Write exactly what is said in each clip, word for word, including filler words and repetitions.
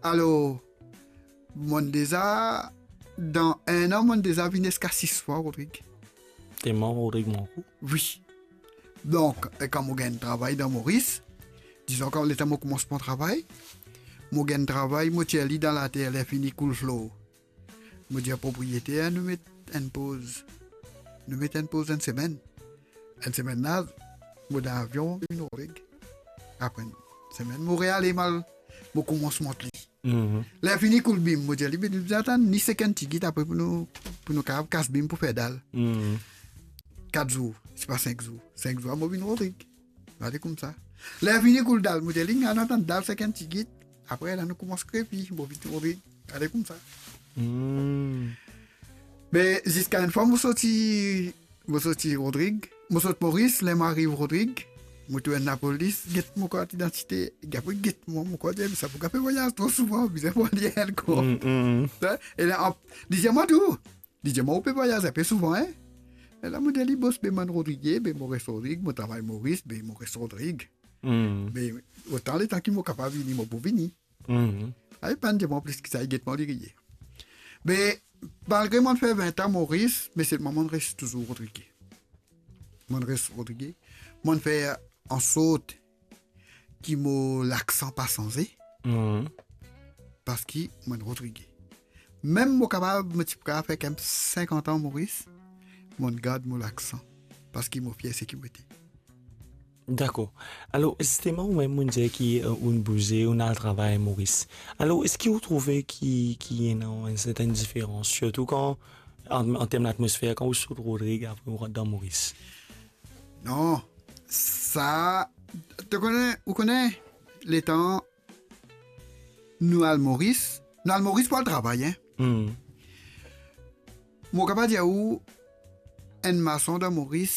Alor, monn deza, dan enn an, monn deza vinn ziska sis fwa, Rodrig. Telman Rodrig mank ou? Wi. Donk, e kan mo gagn travay dan Moris, dizon kan letan mo koumans pran travay, mo gagn travay, mo tir li dan later, ler fini koul flor. Mo dir propriyeter, nou met enn poz. Nou met enn poz enn semenn. Enn semenn la, mo dan avion, mo vinn Rodrig. Apre enn semenn, mo reale, mo al, mo koumans mont li. Mhm. Ler fini koul bim, mo dir li, "Be, nou bizin atann ni sek enn tigit apre pou nou, pou nou kapav kas bim pou fer dal." Mhm. Kat zour, sipa sink zour. Sink zour, mo vinn Rodrig. Ale koumsa. Ler fini koul dal, mo dir li, "Ann atann dal sek enn tigit." Apre la, nou koumans krepi, mo vinn Rodrig. Ale koumsa. Hmm. Me ziska enn fwa, mo sorti, mo sorti Rodrig, mo sort Moris, ler mo ariv Rodrig, mo trouv enn lapolis, get mo kart idantite, li apre get mwa, mo kart, dir, "Sa pou kapav vwayaz tro souvan, bizin pran li ankor." Hmm, hmm. E la, ap-, li dir mwa tou, li dir mwa, "Ou pe vwayaz inpe souvan, hein?" E la, mo dir li, "Bos, be, mo'nn Rodrig, be, mo res Rodrig, mo travay Moris, be, mo res Rodrig." Hmm. Be, otan letan ki mo kapav vini, mo pou vini. Hmm. Li pa'nn dir mwa plis ki sa, li get mwa, li riye. Be, malgre mo'nn fer vin an Moris, me selman mo'nn res touzour Rodrig. Mo'nn res Rodrig. Mo'nn fer ansort ki mo laksan pa sanze, Mhm. parski mo'nn Rodrig. Mem mo kapav, mo ti pou kapav fer kemem sinkant an Moris, mo'nn gard mo laksan, parski mo fier seki mo ete. Dakor. Alor, zisteman, ou mem, ou dir ki, euh, ou'nn bouze, ou'nn al travay Moris. Alor, eski ou trouve ki, ki ena enn sertenn diferans, sirtou kan, an, an term latmosfer, kan ou sort Rodrig, apre ou rant dan Moris? Non, sa, to kone, ou kone, letan nou al Moris, nou al Moris pou al travay, hein. Hmm. Mo kapav dir ou, enn mason dan Moris,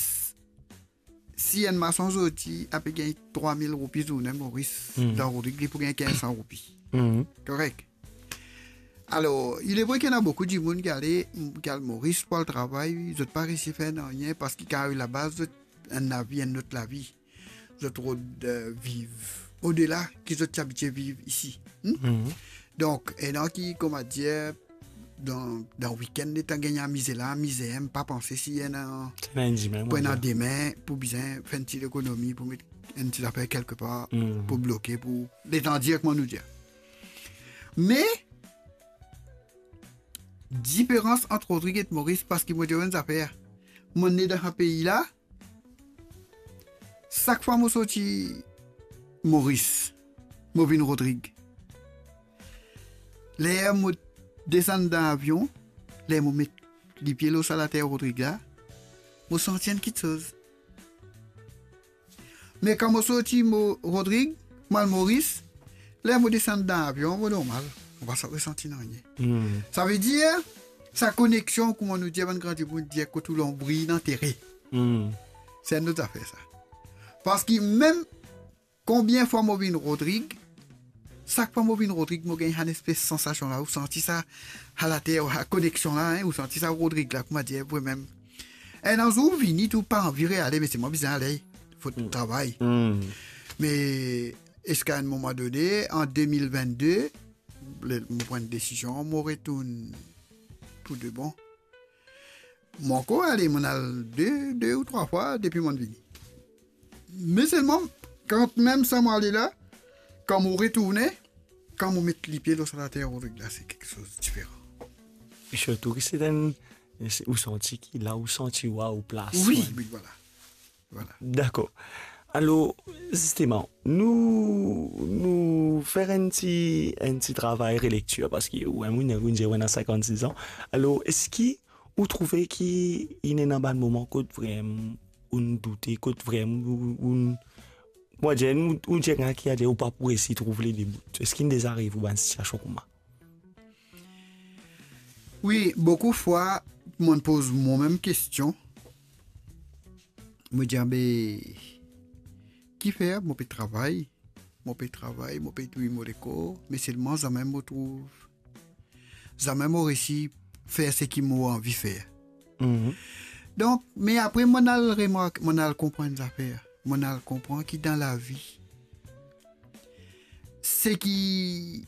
si enn mason zordi, ape gagn trwa mil roupi zourne Moris, Hmm. dan Rodrig, li pou gagn kinz san roupi. Hmm. Korek. Alor, il est vrai ki ena boukou dimoun ki ale, ki al Moris pou al travay, zot pa resi fer nanye, parski kan ariv laba, zot enn lavi, enn lot lavi. Zot rod, euh, viv odela ki zot ti abitie viv isi. Hmm? Mhm. Donk, ena ki, kouma dir, dan, dan wikenn, letan gagn amize la, amize, hein, pa panse si ena, Ena enn dime, pou ena dime, pou bizin fer enn ti lekonomi, pou met enn ti zafer kelkepar, Mhm. pou bloke, pou letan dir, kouma nou dir. Me, diferans ant Rodrig ek Moris, parski mo dir enn zafer. Mo ne dan sa pei la, sak fwa mo sorti Moris, mo vinn Rodrig. Ler mo desann dan avion, ler mo met lipie lor sa later Rodrig la, mo santi enn kitsoz. Me kan mo sorti mo Rodrig, mo al Moris, ler mo desann dan avion, mo normal. Mo pa sa resanti nanye. Hmm. Savedir, sa koneksion, kouma nou dir, bann gran dimoun dir, kot ou lonbri inn antere. Hmm. Se enn lot zafer sa. Parski mem konbien fwa mo vinn Rodrig, sak fwa mo vinn Rodrig, mo gagn sa nespes sansasion la, ou santi sa, sa later, sa koneksion la, hein, ou santi sa Rodrig la, kouma dir, vremem. Enn zour ou vini, tou pa anvi reale, me selman bizin ale, fot Hmm. travay. Hmm. Me ziska enn moman done, an de mil vennde, le, mo pran enn desizion, mo retourn pou de bon. Mo ankor ale, mo'nn al de, de ou trwa fwa depi mo'nn vini. Me selman, kan mem sa mo ale la, kan mo retourne, kan mo met lipie lor sa later Rodrig la, se kiksoz diferan. E sirtou ki se enn, se, ou santi ki la, ou santi ou a ou plas, Wi, ouais. Wi, vwala. Vwala. Dakor. Alor, zisteman, nou, nou fer enn ti, enn ti travay relektir, parski ou, ou, ou dir ou ena sinkant-sis an. Alor, eski ou trouve ki inn ena bann moman kot vremem ou'nn doute, kot vremem ou, ou, ou, mo dir, ou, ou dir ki, adir, ou pa pou resi trouv lede bout? Eski inn deza ariv ou bann sitiasion kouma? Wi, boukou fwa, mo'nn poz momem kestion. Mo dir, be, kifer mo pe travay, mo pe travay, mo pe touy mo lekor, me selman zame mo trouv, zame mo resi fer seki mo anvi fer. Mhm. Donk, me apre, mo'nn al remark, mo'nn al konpran zafer. Mo'nn al konpran ki dan lavi, seki